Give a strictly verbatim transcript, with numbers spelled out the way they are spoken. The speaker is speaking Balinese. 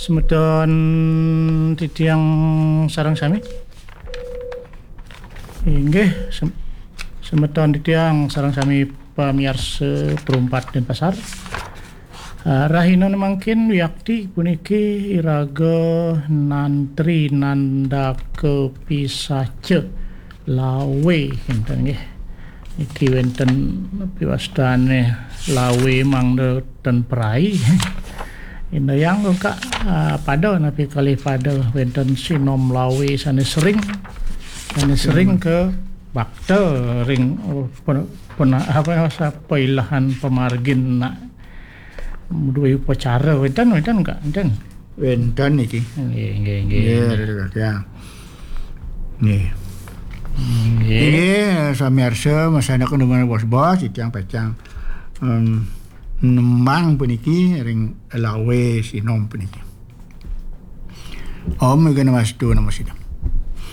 Semeton titiang sareng sami. Inggih, sem-, semeton titiang sareng sami pamiarsa Perumpat Denpasar. Ah, rahina mangkin wiakti puniki iraga nantri nandaka pisaca lawe kinten nggih. Niki wenten piwastane lawe mangda ten perai. Indayang kok, ah, pada napi kalih pada wenten sinom lawe sane sering, sane sering ke bakta ring, oh, pen-, pena-, apa, sapa ilahan pamargin nak duwe upacara wenten, wenten kok, wenten. Wenten niki. Nggih, nggih, nggih. Nggih, betul, ya. Nggih. Nggih. Nggih, samiarsa, masandekan dumun bos-bos, titiang pacang, em, nembang puniki ring lawe sinom puniki. Om Gana Mastu Namo Siddham.